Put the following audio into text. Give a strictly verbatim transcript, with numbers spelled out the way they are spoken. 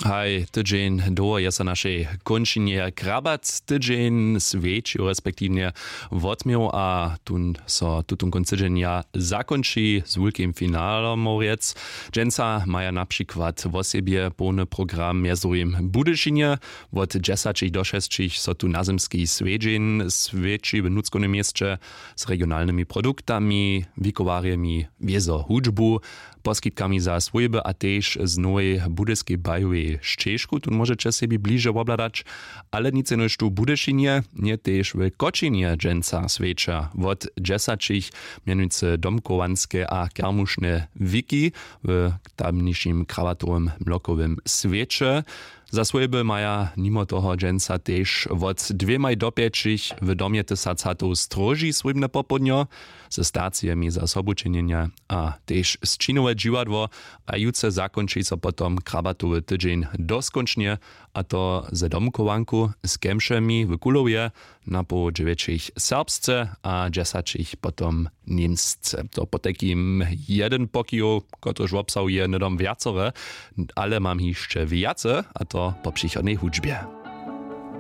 Haj, tydźeń dołho je so našej kónčinje krabac tydźeń swjećił respektiwnje wotměł a tón so tutón kónc tydźenja zakónči z wulkim finalom morjec. Dźensa maja na přikład wosebje połny program mjez druhim w budyšinje. Wot dźesaćich do šesćich so tu nazymski swjedźeń swjeći w nutřkownym měsće z regionalnymi produktami, wikowarjemi, wězo hudźbu, poskitkami za swójby a tež z nowej budyskej bajowej šćežku tón móžeće sebi bliže wobhladać. Ale nic jenož tu w budyšinje nje tež w kočinje dźensa swjeća wot dźesaćich mjenujcy domkowanske a kermušne wiki w tamnišim krawatowym mlokowym swěće. Za swójby maja nimo toho dźensa tež wot dwěmaj do pjećich w domje tysac hatow stróži swójbne popołdnjo ze stacijemi za sobučenjenja a tež sćinowe dźiwadło. A jutře zakónči so potom krabatowy tydźeń doskónčnje, a to ze domkowanku z kemšemi w kulowje, napoł dźewjećich serbsce a dźesaćich potom němsce. To potajkim jeden pokijow, kotryž wobsahuje hnydom wjacore, ale mam hišće wjace, a to po přichodnej hudźbje.